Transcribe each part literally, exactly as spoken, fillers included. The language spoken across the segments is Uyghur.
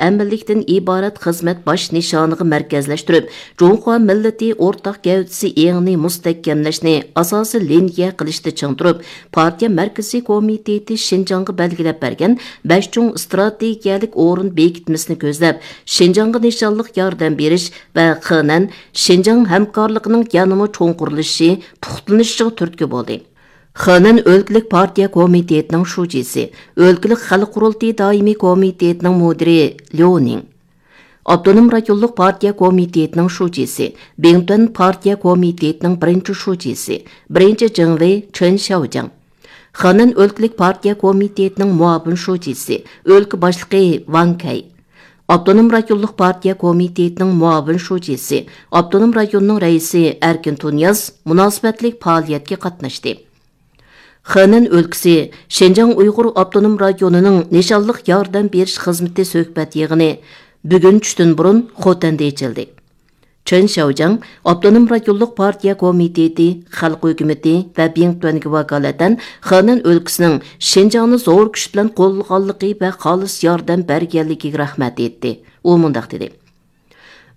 مۇكەممەللىكتىن ئىبارەت خىزمەت باش نىشانىغا مەركەزلەشتۈرۈپ، جۇڭخۇا مىللىتى ئورتاق گەۋدىسى ئېڭىنى مۇستەھكەملەشنى ئاساسىي لىنىيە قىلىشتا چىڭ تۇرۇپ، پارتىيە مەركىزىي كومىتېتى شىنجاڭغا بەلگىلەپ بەرگەن بەش چوڭ ئىستراتېگىيەلىك ئورۇن بېكىتمىسىنى كۆزلەپ، شىنجاڭغا نىشانلىق ياردەم بېرىش ۋە خېنەن شىنجاڭ ھەمكارلىقىنىڭ يەنىمۇ چوڭقۇرلىشىشى، پۇختىلىنىشىغا تۈرتكە بولدى. خېنەن ئۆلكىلىك پارتىيە كومىتېتىنىڭ شۇجىسى، ئۆلكىلىك خەلق قۇرۇلتىيى دائىمىي كومىتېتىنىڭ مۇدىرى ليۇ نىڭ، ئاپتونوم رايونلۇق پارتىيە كومىتېتىنىڭ شۇجىسى، بىڭتۈەن پارتىيە كومىتېتىنىڭ بىرىنچى شۇجىسى، بىرىنچى جىڭۋېي چېن شياۋجياڭ، خېنەن ئۆلكىلىك پارتىيە كومىتېتىنىڭ مۇئاۋىن شۇجىسى، ئۆلكە باشلىقى ۋاڭ كەي، ئاپتونوم رايونلۇق پارتىيە كومىتېتىنىڭ مۇئاۋىن شۇجىسى، ئاپتونوم رايوننىڭ رەئىسى ئەركىن تۇنىياز مۇناسىۋەتلىك پائالىيەتكە قاتناشتى. خېنەن ئۆلكىسى شىنجاڭ ئۇيغۇر ئاپتونوم رايونىنىڭ نىشانلىق ياردەم بېرىش خىزمىتى سۆھبەت يىغىنى بۈگۈن چۈشتىن بۇرۇن خوتەندە ئېچىلدى. چېن شياۋجياڭ ئاپتونوم رايونلۇق پارتىيە كومىتېتى، خەلق ھۆكۈمىتى ۋە بىڭتۈەنگە ۋاكالىتەن خېنەن ئۆلكىسىنىڭ شىنجاڭنى زور كۈچ بىلەن قوللىغانلىقى ۋە خالىس ياردەم بەرگەنلىكىگە رەھمەت ئېيتتى. ئۇ مۇنداق دېدى.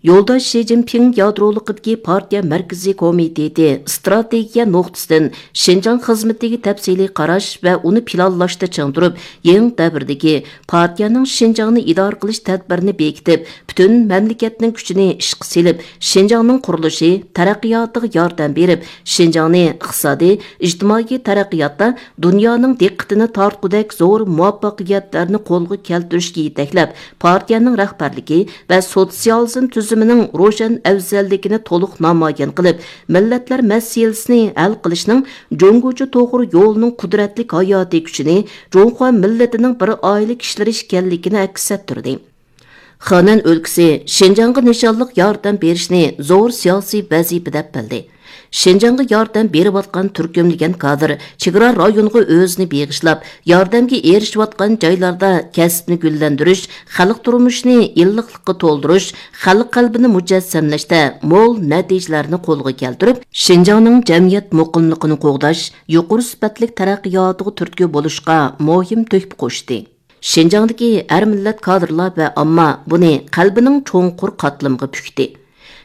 يولداش شى جىنپىڭ يادرولۇقىدىكى پارتىيە مەركىزىي كومىتېتى ئىستراتېگىيە نۇقتىسىدىن شىنجاڭ خىزمىتىگە تەپسىلىي قاراش ۋە ئۇنى پىلانلاشتا چىڭ تۇرۇپ، يېڭى دەۋردىكى پارتىيەنىڭ شىنجاڭنى ئىدارە قىلىش تەدبىرىنى بېكىتىپ، پۈتۈن مەملىكەتنىڭ كۈچىنى ئىشقا سېلىپ، شىنجاڭنىڭ قۇرۇلۇشى، تەرەققىياتىغا ياردەم بېرىپ، شىنجاڭنى ئىقتىسادىي، ئىجتىمائىي تەرەققىياتتا دۇنيانىڭ دىققىتىنى تارتقۇدەك زور مۇۋەپپەقىيەتلەرنى قولغا كەلتۈرۈشكە يېتەكلەپ، پارتىيەنىڭ رەھبەرلىكى ۋە سوتسىيالىزم تۈزۈمىنىڭ روشەن ئەۋزەللىكىنى تولۇق نامايان قىلىپ، مىللەتلەر مەسىلىسىنى ھەل قىلىشنىڭ جۇڭگوچە توغرا يولىنىڭ قۇدرەتلىك ھاياتىي كۈچىنى، جۇڭخۇا مىللىتىنىڭ بىر ئائىلە كىشىلىرى ئىكەنلىكىنى ئەكس ئەتتۈردى. خېنەن ئۆلكىسى شىنجاڭغا نىشانلىق ياردەم بېرىشنى زور سىياسىي ۋەزىپە دەپ بىلدى. شىنجاڭغا ياردەم بېرىۋاتقان تۈركۈملىگەن كادىر چېگرا رايونىغا ئۆزىنى بېغىشلاپ، ياردەمگە ئېرىشىۋاتقان جايلاردا كەسىپنى گۈللەندۈرۈش، خەلق تۇرمۇشىنى ئىللىقلىققا تولدۇرۇش، خەلق قەلبىنى مۇجەسسەملەشتە مول نەتىجىلەرنى قولغا كەلتۈرۈپ، شىنجاڭنىڭ جەمئىيەت مۇقىملىقىنى قوغداش، يۇقىرى سۈپەتلىك تەرەققىياتىغا تۈرتكە بولۇشقا مۇھىم تۆھپە قوشتى. شىنجاڭدىكى ھەر مىللەت كادىرلار ۋە ئامما بۇنى قەلبىنىڭ چوڭقۇر قاتلىمىغا پۈكتى.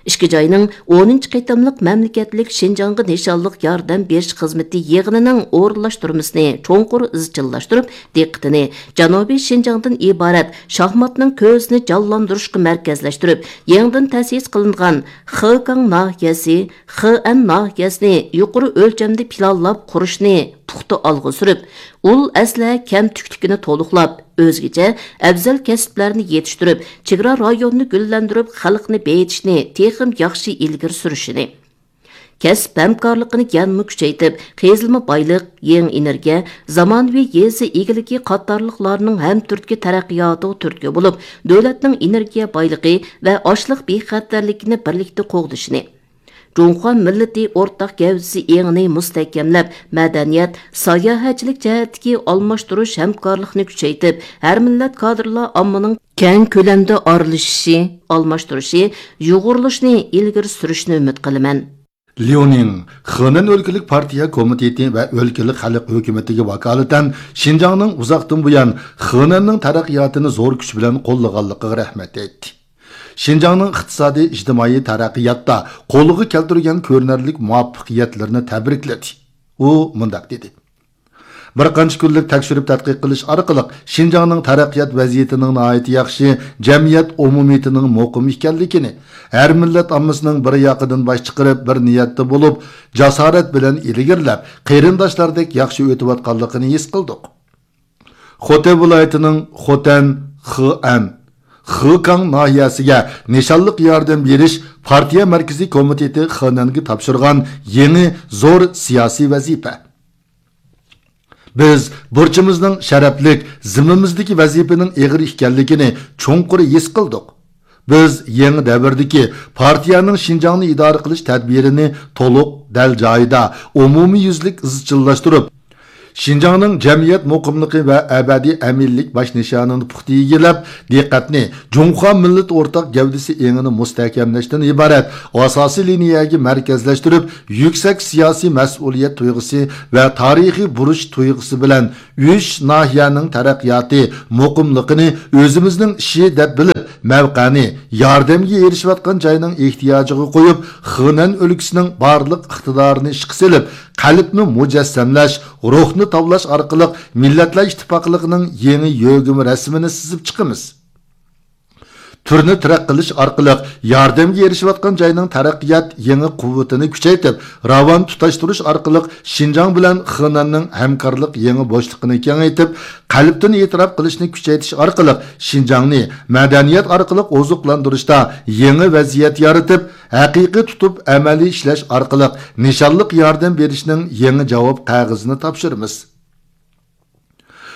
ئىككى جاينىڭ ئونىنچى قېتىملىق مەملىكەتلىك شىنجاڭغا نىشانلىق ياردەم بېرىش خىزمىتى يىغىنىنىڭ ئورۇنلاشتۇرمىسىنى چوڭقۇر ئىزچىللاشتۇرۇپ، دىققىتىنى جەنۇبىي شىنجاڭدىن ئىبارەت شاھماتنىڭ كۆزىنى جانلاندۇرۇشقا مەركەزلەشتۈرۈپ، يېڭىدىن تەسىس قىلىنغان خېكاڭ ناھىيەسى، خېئەن ناھىيەسىنى يۇقىرى ئۆلچەمدە پىلانلاپ قۇرۇشنى پۇختا ئالغا سۈرۈپ، ئۇل ئەسلىھە كەمتۈكلۈكىنى تولۇقلاپ، ئۆزگىچە ئەۋزەل كەسىپلەرنى يېتىشتۈرۈپ، چېگرا رايونىنى گۈللەندۈرۈپ، خەلقنى بېيىتىشنى تېخىمۇ ياخشى ئىلگىرى سۈرۈشىنى، كەسىپ ھەمكارلىقىنى يەنىمۇ كۈچەيتىپ، قېزىلما بايلىق، يېڭى ئېنېرگىيە، زامانىۋى يېزا ئىگىلىكى قاتارلىقلارنىڭ ھەمتۈرتكە تەرەققىياتىغا تۈرتكە بولۇپ، دۆلەتنىڭ ئېنېرگىيە بايلىقى ۋە ئاشلىق بىخەتەرلىكىنى بىرلىكتە قوغدىشىنى، جۇڭخۇا مىللىتى ئورتاق گەۋدىسى ئېڭىنى مۇستەھكەملەپ، مەدەنىيەت، ساياھەتچىلىك جەھەتتىكى ئالماشتۇرۇش ھەمكارلىقنى كۈچەيتىپ، ھەر مىللەت كادىرلار ئاممىنىڭ كەڭ كۆلەمدە ئارىلىشىشى، ئالماشتۇرۇشى، يۇغۇرۇلۇشىنى ئىلگىرى سۈرۈشىنى ئۈمىد قىلىمەن. ليۇنىڭ خېنەن ئۆلكىلىك پارتىيە كومىتېتى ۋە ئۆلكىلىك خەلق ھۆكۈمىتىگە ۋاكالىتەن شىنجاڭنىڭ ئۇزاقتىن بۇيان خېنەننىڭ تەرەققىياتىنى زور كۈچ بىلەن قوللىغانلىقىغا رەھمەت ئېيتتى. شىنجاڭنىڭ ئىقتىسادىي، ئىجتىمائىي تەرەققىياتتا قولغا كەلتۈرگەن كۆرۈنەرلىك مۇۋەپپەقىيەتلىرىنى تەبرىكلىدى. ئۇ مۇنداق دېدى: بىر قانچە كۈنلۈك تەكشۈرۈپ تەتقىق قىلىش ئارقىلىق شىنجاڭنىڭ تەرەققىيات ۋەزىيىتىنىڭ ناھايىتى ياخشى، جەمئىيەت ئومۇمىيىتىنىڭ مۇقىم ئىكەنلىكىنى، ھەر مىللەت ئاممىسىنىڭ بىر ياقىدىن باش چىقىرىپ، بىر نىيەتتە بولۇپ، جاسارەت بىلەن ئىلگىرىلەپ، قېرىنداشلاردەك ياخشى ئۆتۈۋاتقانلىقىنى ھېس قىلدۇق. خوتەن ۋىلايىتىنىڭ خوتەن، خېئەن، خېكاڭ ناھىيەسىگە نىشانلىق ياردەم بېرىش پارتىيە مەركىزىي كومىتېتى خېنەنگە تاپشۇرغان يېڭى زور سىياسىي ۋەزىپە. بىز بۇرچىمىزنىڭ شەرەپلىك، زىممىمىزدىكى ۋەزىپىنىڭ ئېغىر ئىكەنلىكىنى چوڭقۇر ھېس قىلدۇق. بىز يېڭى دەۋردىكى پارتىيەنىڭ شىنجاڭنى ئىدارە قىلىش تەدبىرىنى تولۇق، دەل جايىدا، ئومۇميۈزلۈك ئىزچىللاشتۇرۇپ، شىنجاڭنىڭ جەمئىيەت مۇقىملىقى ۋە ئەبەدىي ئەمىنلىك باش نىشانىنى پۇختا ئىگىلەپ، دىققەتنى جۇڭخۇا مىللىتى ئورتاق گەۋدىسى ئېڭىنى مۇستەھكەملەشتىن ئىبارەت ئاساسىي لىنىيەگە مەركەزلەشتۈرۈپ، يۈكسەك سىياسىي مەسئۇلىيەت تۇيغۇسى ۋە تارىخىي بۇرچ تۇيغۇسى بىلەن ئۈچ ناھىيەنىڭ تەرەققىياتى، مۇقىملىقىنى ئۆزىمىزنىڭ ئىشى دەپ بىلىپ، مەۋقەنى ياردەمگە ئېرىشىۋاتقان جاينىڭ ئېھتىياجىغا قويۇپ، خېنەن ئۆلكىسىنىڭ بارلىق ئىقتىدارىنى ئىشقا سېلىپ، قەلبنى مۇجەسسەملەش، روھنى تاۋلاش ئارقىلىق مىللەتلەر ئىتتىپاقلىقىنىڭ يېڭى يۆگىمە رەسىمىنى سىزىپ چىقىمىز. تۈرنى تىرەك قىلىش ئارقىلىق ياردەمگە ئېرىشىۋاتقان جاينىڭ تەرەققىيات يېڭى قۇۋۋىتىنى كۈچەيتىپ، راۋان تۇتاشتۇرۇش ئارقىلىق شىنجاڭ بىلەن خېنەننىڭ ھەمكارلىق يېڭى بوشلۇقىنى كېڭەيتىپ، قەلبتىن ئېتىراپ قىلىشنى كۈچەيتىش ئارقىلىق شىنجاڭنى مەدەنىيەت ئارقىلىق ئوزۇقلاندۇرۇشتا يېڭى ۋەزىيەت يارىتىپ، ھەقىقىي تۇتۇپ ئەمەلىي ئىشلەش ئارقىلىق نىشانلىق ياردەم بېرىشنىڭ يېڭى جاۋاب قەغىزىنى تاپشۇرىمىز.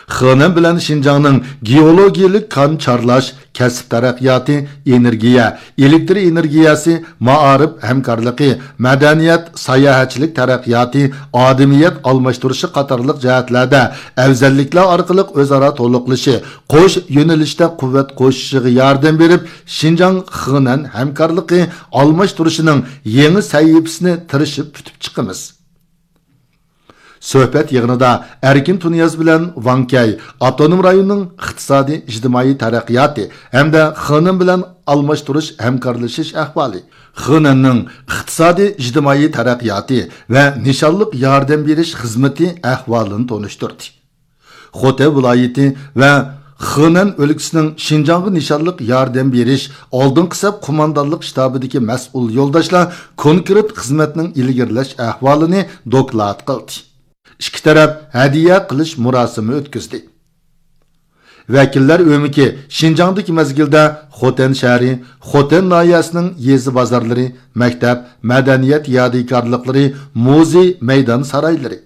خېنەن بىلەن شىنجاڭنىڭ گېئولوگىيەلىك كان چارلاش، كەسىپ تەرەققىياتى، ئېنېرگىيە، ئېلېكتر ئېنېرگىيەسى، مائارىپ ھەمكارلىقى، مەدەنىيەت، ساياھەتچىلىك تەرەققىياتى، ئادىمىيەت ئالماشتۇرۇشى قاتارلىق جەھەتلەردە ئەۋزەللىكلەر ئارقىلىق ئۆزئارا تولۇقلىشى، قوش يۆنىلىشتە قۇۋۋەت قوشۇشىغا ياردەم بېرىپ، شىنجاڭ خېنەن ھەمكارلىقى ئالماشتۇرۇشىنىڭ يېڭى سەھىپىسىنى تىرىشىپ پۈتۈپ چىقىمىز. سۆھبەت يىغىنىدا ئەركىن تۇنىياز بىلەن ۋاڭ كەي ئاپتونوم رايوننىڭ ئىقتىسادىي ئىجتىمائىي تەرەققىياتى ھەمدە خېنەن بىلەن ئالماشتۇرۇش ھەمكارلىشىش ئەھۋالى، خېنەننىڭ ئىقتىسادىي ئىجتىمائىي تەرەققىياتى ۋە نىشانلىق ياردەم بېرىش خىزمىتى ئەھۋالىنى تونۇشتۇردى. خوتەن ۋىلايىتى ۋە خېنەن ئۆلكىسىنىڭ شىنجاڭغا نىشانلىق ياردەم بېرىش ئالدىنقى سەپ قوماندانلىق شتابىدىكى مەسئۇل يولداشلار كونكرېت خىزمەتنىڭ ئىلگىرىلەش ئەھۋالىنى دوكلات قىلدى. ئىككى تەرەپ ھەدىيە قىلىش مۇراسىمى ئۆتكۈزدى. ۋەكىللەر ئۆمىكى شىنجاڭدىكى مەزگىلدە خوتەن شەھىرى، خوتەن ناھىيەسىنىڭ يېزا بازارلىرى، مەكتەپ، مەدەنىيەت يادىكارلىقلىرى، مۇزېي، مەيدان سارايلىرى،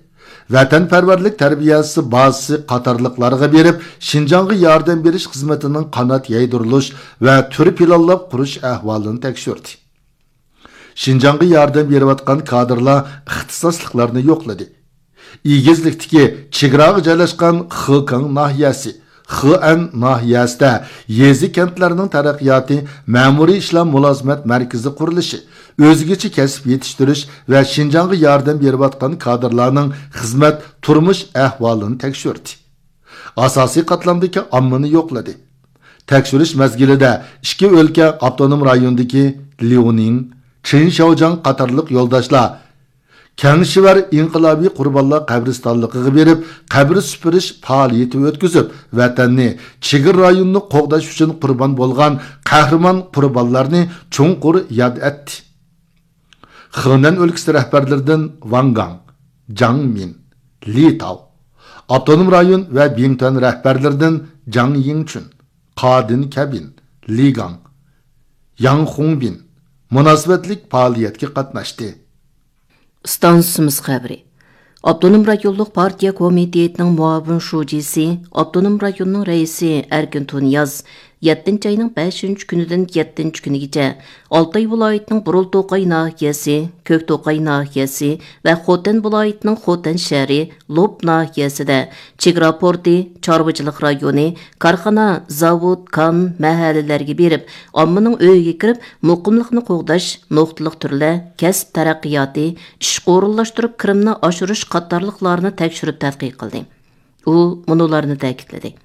ۋەتەنپەرۋەرلىك تەربىيەسى بازىسى قاتارلىقلارغا بېرىپ، شىنجاڭغا ياردەم بېرىش خىزمىتىنىڭ قانات يايدۇرۇلۇش ۋە تۈر پىلانلاپ قۇرۇش ئەھۋالىنى تەكشۈردى. شىنجاڭغا ياردەم بېرىۋاتقان كادىرلار ئىختىساسلىقلارنى يوقلىدى. ئېگىزلىكتىكى چېگراغا جايلاشقان خېكاڭ ناھىيەسى، خېئەن ناھىيەسىدە يېزا، كەنتلەرنىڭ تەرەققىياتى، مەمۇرىي ئىشلار مۇلازىمەت مەركىزى قۇرۇلۇشى، ئۆزگىچە كەسىپ يېتىشتۈرۈش ۋە شىنجاڭغا ياردەم بېرىۋاتقان كادىرلارنىڭ خىزمەت، تۇرمۇش ئەھۋالىنى تەكشۈردى. ئاساسىي قاتلامدىكى ئاممىنى يوقلىدى. تەكشۈرۈش مەزگىلىدە ئىككى ئۆلكە ئاپتونوم رايونىدىكى ليۇنىڭ، چېن شياۋجياڭ قاتارلىق يولداشلار كەڭشىۋەر ئىنقىلابىي قۇربانلار قەبرىستانلىقىغا بېرىپ، قەبرە سۈپۈرۈش پائالىيىتى ئۆتكۈزۈپ، ۋەتەننى، چېگرا رايونىنى قوغداش ئۈچۈن قۇربان بولغان قەھرىمان قۇربانلارنى چوڭقۇر ياد ئەتتى. خېنەن ئۆلكىسى رەھبەرلىرىدىن ۋاڭ گاڭ، جاڭ مىن، لى تاۋ، ئاپتونوم رايون ۋە بىڭتۈەن رەھبەرلىرىدىن جاڭ يىڭچۈن، قادىن كەبىن، لى گاڭ، ياڭ خۇڭبىن مۇناسىۋەتلىك پائالىيەتكە قاتناشتى. ئىستانسىمىز خەۋىرى. ئاپتونوم رايونلۇق پارتىيە كومىتېتىنىڭ مۇئاۋىن شۇجىسى، ئاپتونوم رايوننىڭ رەئىسى ئەركىن تۇنىياز يەتتىنچى ئاينىڭ بەشىنچى كۈنىدىن يەتتىنچى كۈنىگىچە ئالتاي ۋىلايىتىنىڭ بۇرۇلتوقاي ناھىيەسى، كۆكتوقاي ناھىيەسى ۋە خوتەن ۋىلايىتىنىڭ خوتەن شەھىرى، لوپ ناھىيەسىدە چېگرا پورتى، چارۋىچىلىق رايونى، كارخانا، زاۋۇت، كان، مەھەللىلەرگە بېرىپ، ئاممىنىڭ ئۆيىگە كىرىپ، مۇقىملىقنى قوغداش، نۇقتىلىق تۈرلەر، كەسىپ تەرەققىياتى، ئىشقا ئورۇنلاشتۇرۇپ كىرىمنى ئاشۇرۇش قاتارلىقلارنى تەكشۈرۈپ تەتقىق قىلدى. ئۇ مۇنۇلارنى تەكىتلىدى.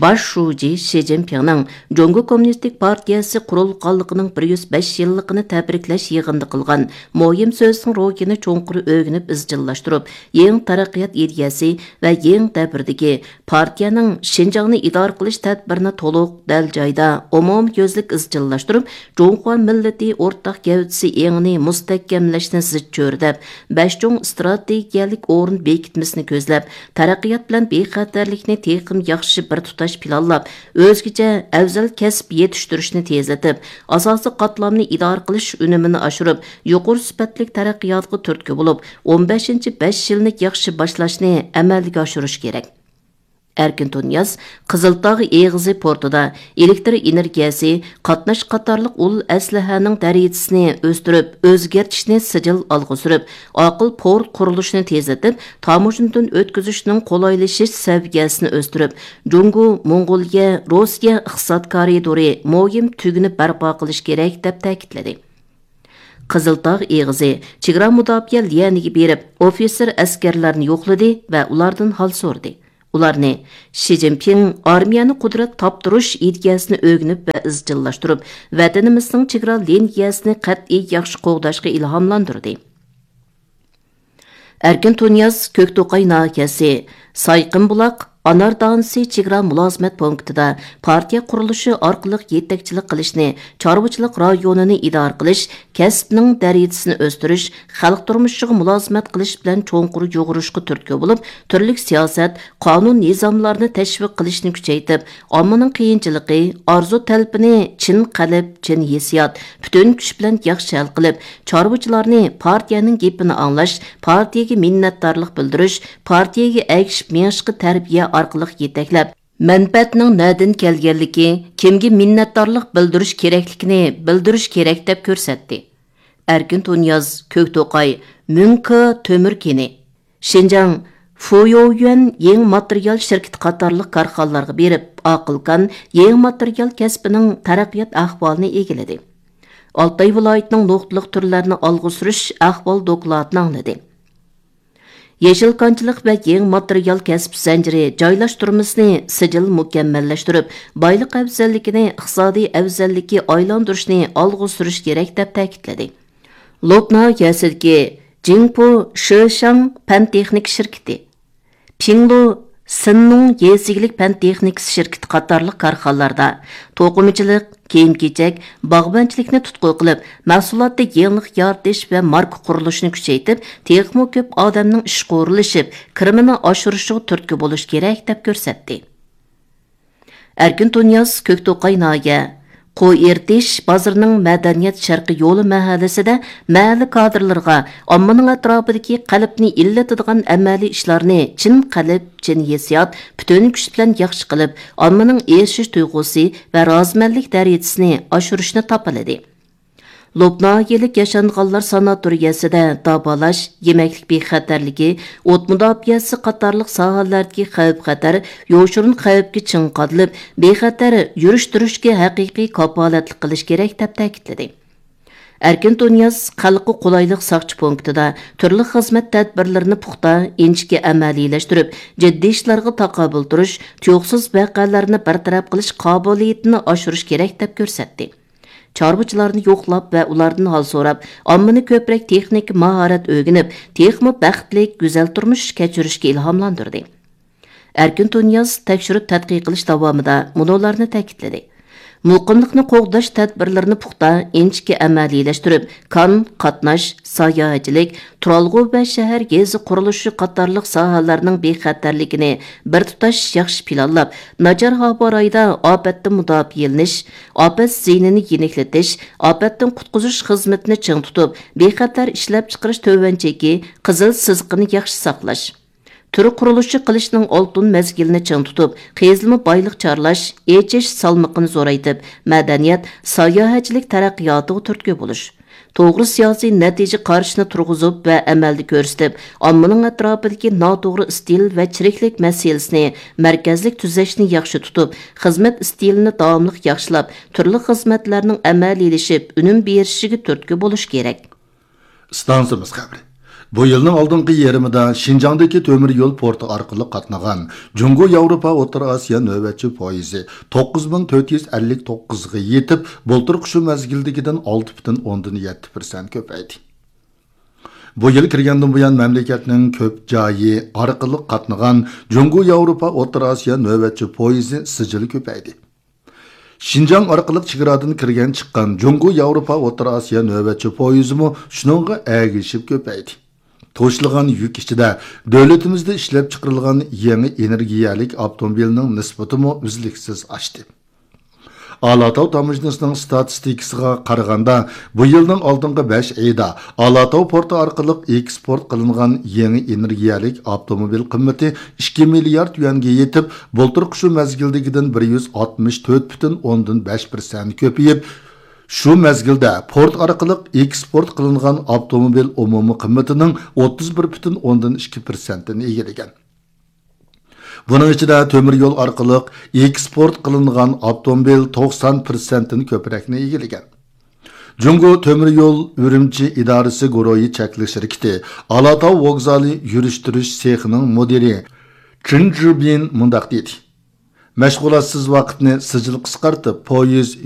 باش شۇجى شى جىنپىڭنىڭ جۇڭگو كوممۇنىستىك پارتىيەسى قۇرۇلغانلىقىنىڭ بىر يۈز بەش يىللىقىنى تەبرىكلەش يىغىنىدا قىلغان مۇھىم سۆزىنىڭ روھىنى چوڭقۇر ئۆگىنىپ ئىزچىللاشتۇرۇپ، يېڭى تەرەققىيات ئىدىيەسى ۋە يېڭى دەۋردىكى پارتىيەنىڭ شىنجاڭنى ئىدارە قىلىش تەدبىرىنى تولۇق، دەل جايدا، ئومۇميۈزلۈك ئىزچىللاشتۇرۇپ، جۇڭخۇا مىللىتى ئورتاق گەۋدىسى ئېڭىنى مۇستەھكەملەشنى زىچ چۆرىدەپ، بەش چوڭ ئىستراتېگىيەلىك ئورۇن بېكىتمىسىنى كۆزلەپ، تەرەققىيات بىلەن بىخەتەرلىكنى تېخىمۇ ياخشى بىر تۇتاش پىلانلاپ، ئۆزگىچە ئەۋزەل كەسىپ يېتىشتۈرۈشنى تېزلىتىپ، ئاساسىي قاتلامنى ئىدارە قىلىش ئۈنۈمىنى ئاشۇرۇپ، يۇقىرى سۈپەتلىك تەرەققىياتقا تۈرتكە بولۇپ، ئون بەشىنچى بەش يىلنى ياخشى باشلاشنى ئەمەلگە ئاشۇرۇش كېرەك. ئەركىن تۇنىياز قىزىلتاغ ئېغىزى پورتىدا ئېلېكتر ئېنېرگىيەسى، قاتناش قاتارلىق ئۇل ئەسلىھەنىڭ دەرىجىسىنى ئۆستۈرۈپ، ئۆزگەرتىشنى سىجىل ئالغا سۈرۈپ، ئاقىل پورت قۇرۇلۇشىنى تېزلىتىپ، تاموژنىدىن ئۆتكۈزۈشنىڭ قولايلىشىش سەۋىيەسىنى ئۆستۈرۈپ، جۇڭگو، موڭغۇلىيە، روسىيە ئىقتىساد كارىدورى مۇھىم تۈگۈنى بەرپا قىلىش كېرەك، دەپ تەكىتلىدى. قىزىلتاغ ئېغىزى چېگرا مۇداپىئە ليەنىگە بېرىپ، ئوفىتسېر ئەسكەرلەرنى يوقلىدى ۋە ئۇلاردىن ھال سورىدى. ئۇلارنى شى جىنپىڭ ئارمىيەنى قۇدرەت تاپتۇرۇش ئىدىيەسىنى ئۆگىنىپ ۋە ئىزچىللاشتۇرۇپ، ۋەتىنىمىزنىڭ چېگرا لىنىيەسىنى قەتئىي ياخشى قوغداشقا ئىلھاملاندۇردى. ئەركىن تۇنىياز كۆكتوقاي ناھىيەسى سايقىمبۇلاق ئانار دانىسى چېگرا مۇلازىمەت پونكىتىدا پارتىيە قۇرۇلۇشى ئارقىلىق يېتەكچىلىك قىلىشنى، چارۋىچىلىق رايونىنى ئىدارە قىلىش، كەسىپنىڭ دەرىجىسىنى ئۆستۈرۈش، خەلق تۇرمۇشىغا مۇلازىمەت قىلىش بىلەن چوڭقۇر يۇغۇرۇشقا تۈرتكە بولۇپ، تۈرلۈك سىياسەت، قانۇن-نىزاملارنى تەشۋىق قىلىشنى كۈچەيتىپ، ئاممىنىڭ قىيىنچىلىقى، ئارزۇ-تەلىپىنى چىن قەلب، چىن ھېسسىيات، پۈتۈن كۈچ بىلەن ياخشى ھەل قىلىپ، چارۋىچىلارنى پارتىيەنىڭ گېپىنى ئاڭلاش، پارتىيەگە مىننەتدارلىق بىلدۈرۈش، پارتىيەگە ئەگىشىپ مېڭىشقا تەربىيە ئارقىلىق يېتەكلەپ، مەنپەئەتنىڭ نەدىن كەلگەنلىكى، كىمگە مىننەتدارلىق بىلدۈرۈش كېرەكلىكىنى بىلدۈرۈش كېرەك، دەپ كۆرسەتتى. ئەركىن تۇنىياز، كۆكتوقاي، مۈڭكې تۆمۈر كېنى. شىنجاڭ فۇيويۈەن يېڭى ماتېرىيال شىركىتى قاتارلىق كارخانىلارغا بېرىپ، ئاقىل كان يېڭى ماتېرىيال كەسپىنىڭ تەرەققىيات ئەھۋالىنى ئىگىلىدى. ئالتاي ۋىلايىتىنىڭ نۇقتىلىق تۈرلەرنى ئالغا سۈرۈش ئەھۋال دوكلاتىنى ئاڭلىدى. يېشىل كانچىلىق ۋە يېڭى ماتېرىيال كەسىپ زەنجىرى جايلاشتۇرمىسىنى سىجىل مۇكەممەللەشتۈرۈپ، بايلىق ئەۋزەللىكىنى ئىقتىسادىي ئەۋزەللىككە ئايلاندۇرۇشنى ئالغا سۈرۈش كېرەك، دەپ تەكىتلىدى. لوپ ناھىيەسىدىكى جىڭپۇ شېشاڭ پەن تېخنىكا شىركىتى، پىڭلۇ سىننۇڭ يېزا ئىگىلىك پەن تېخنىكىسى شىركىتى قاتارلىق كارخانىلاردا توقۇمىچىلىق، كىيىم-كېچەك، باغۋەنچىلىكنى تۇتقا قىلىپ، مەھسۇلاتتا يېڭىلىق يارىتىش ۋە ماركا قۇرۇلۇشىنى كۈچەيتىپ، تېخىمۇ كۆپ ئادەمنىڭ ئىشقا ئورۇنلىشىپ، كىرىمىنى ئاشۇرۇشىغا تۈرتكە بولۇش كېرەك، دەپ كۆرسەتتى. ئەركىن تۇنىياز، كۆكتوقاي ناھىيە، قوي ئېرىتىش بازىرىنىڭ مەدەنىيەت شەرقىي يولى مەھەللىسىدە مەھەللە كادىرلىرىغا ئاممىنىڭ ئەتراپىدىكى قەلبنى ئىللىتىدىغان ئەمەلىي ئىشلارنى چىن قەلب، چىن ھېسسىيات، پۈتۈن كۈچ بىلەن ياخشى قىلىپ، ئاممىنىڭ ئېرىشىش تۇيغۇسى ۋە رازىمەنلىك دەرىجىسىنى ئاشۇرۇشنى تاپىلىدى. لوپ ناھىيەلىك ياشانغانلار ساناتورىيەسىدە داۋالاش، يېمەكلىك بىخەتەرلىكى، ئوت مۇداپىئەسى قاتارلىق ساھەلەردىكى خەۋپ-خەتەر يوشۇرۇن خەۋپكە چىڭ قادىلىپ، بىخەتەر يۈرۈش-تۇرۇشقا ھەقىقىي كاپالەتلىك قىلىش كېرەك، دەپ تەكىتلىدى. ئەركىن تۇنىياز خەلققە قولايلىق ساقچى پونكىتىدا تۈرلۈك خىزمەت تەدبىرلىرىنى پۇختا، ئىنچىكە ئەمەلىيلەشتۈرۈپ، جىددىي ئىشلارغا تاقابىل تۇرۇش، تۇيۇقسىز ۋەقەلەرنى بىر تەرەپ قىلىش قابىلىيىتىنى ئاشۇرۇش كېرەك، دەپ كۆرسەتتى. چارۋىچىلارنى يوقلاپ ۋە ئۇلاردىن ھال سوراپ، ئاممىنى كۆپرەك تېخنىكا ماھارەت ئۆگىنىپ، تېخىمۇ بەختلىك، گۈزەل تۇرمۇش كەچۈرۈشكە ئىلھاملاندۇردى. ئەركىن تۇنىياز تەكشۈرۈپ تەتقىق قىلىش داۋامىدا مۇنۇلارنى تەكىتلىدى: مۇقىملىقنى قوغداش تەدبىرلىرىنى پۇختا، ئىنچىكە ئەمەلىيلەشتۈرۈپ، كان، قاتناش، ساياھەتچىلىك، تۇرالغۇ ۋە شەھەر يېزا قۇرۇلۇشى قاتارلىق ساھەلەرنىڭ بىخەتەرلىكىنى بىر تۇتاش ياخشى پىلانلاپ، ناچار ھاۋا رايىدا ئاپەتتىن مۇداپىئەلىنىش، ئاپەت زىيىنىنى يېنىكلىتىش، ئاپەتتىن قۇتقۇزۇش خىزمىتىنى چىڭ تۇتۇپ، بىخەتەر ئىشلەپچىقىرىش تۆۋەن چېكى، قىزىل سىزىقىنى ياخشى ساقلاش، تۈر قۇرۇلۇشى قىلىشنىڭ ئالتۇن مەزگىلىنى چىڭ تۇتۇپ، قېزىلما بايلىق چارلاش، ئېچىش سالمىقىنى زورايتىپ، مەدەنىيەت، ساياھەتچىلىك تەرەققىياتىغا تۈرتكە بولۇش، توغرا سىياسىي نەتىجە قارىشىنى تۇرغۇزۇپ ۋە ئەمەلدە كۆرسىتىپ، ئاممىنىڭ ئەتراپىدىكى ناتوغرا ئىستىل ۋە چىرىكلىك مەسىلىسىنى مەركەزلىك تۈزەشنى ياخشى تۇتۇپ، خىزمەت ئىستىلىنى داۋاملىق ياخشىلاپ، تۈرلۈك خىزمەتلەرنىڭ ئەمەلىيلىشىپ، ئۈنۈم بېرىشىگە تۈرتكە بولۇش كېرەك. ئىستانسىمىز خەۋىرى. بۇ يىلنىڭ ئالدىنقى يېرىمىدا شىنجاڭدىكى تۆمۈر يول پورتى ئارقىلىق قاتنىغان جۇڭگو ياۋروپا ئوتتۇرا ئاسىيا نۆۋەتچى پويىزى توققۇز مىڭ تۆت يۈز ئەللىك توققۇزغا يېتىپ، بۇلتۇرقى شۇ مەزگىلدىكىدىن ئالتە پۈتۈن ئوندىن يەتتە پىرسەنت كۆپەيدى. بۇ يىل كىرگەندىن بۇيان، مەملىكەتنىڭ كۆپ جايى ئارقىلىق قاتنىغان جۇڭگو ياۋروپا ئوتتۇرا ئاسىيا نۆۋەتچى پويىزى سىجىل كۆپەيدى. شىنجاڭ ئارقىلىق چېگرادىن كىرگەن چىققان جۇڭگو ياۋروپا ئوتتۇرا ئاسىيا نۆۋەتچى پويىزىمۇ شۇنىڭغا ئەگىشىپ كۆپەيدى. توشۇلغان يۈك ئىچىدە دۆلىتىمىزدە ئىشلەپچىقىرىلغان يېڭى ئېنېرگىيەلىك ئاپتوموبىلنىڭ نىسبىتىمۇ ئۈزلۈكسىز ئاشتى. ئالاتاۋ تاموژنىسىنىڭ ستاتىستىكىسىغا قارىغاندا، بۇ يىلنىڭ ئالدىنقى بەش ئېيىدا ئالاتاۋ پورتى ئارقىلىق ئېكسپورت قىلىنغان يېڭى ئېنېرگىيەلىك ئاپتوموبىل قىممىتى ئىككى مىليارد يۈەنگە يېتىپ، بۇلتۇرقى شۇ مەزگىلدىكىدىن بىر يۈز ئاتمىش تۆت پۈتۈن ئوندىن بەش پىرسەنت كۆپىيىپ، شۇ مەزگىلدە پورت ئارقىلىق ئېكسپورت قىلىنغان ئاپتوموبىل ئومۇمىي قىممىتىنىڭ ئوتتۇز بىر پۈتۈن ئوندىن ئىككى پىرسەنتىنى ئىگىلىگەن. بۇنىڭ ئىچىدە تۆمۈر يول ئارقىلىق ئېكسپورت قىلىنغان ئاپتوموبىل توقسان پىرسەنتتىن كۆپرەكنى ئىگىلىگەن. جۇڭگو تۆمۈر يول ئۈرۈمچى ئىدارىسى گۇرۇھى چەكلىك شىركىتى ئالاتاۋ ۋوگزالى يۈرۈشتۈرۈش سېخىنىڭ مۇدىرى چېن جىبىن مۇنداق دېدى: مەشغۇلاتسىز ۋاقىتنى سىجىل قىسقارتىپ، پويىز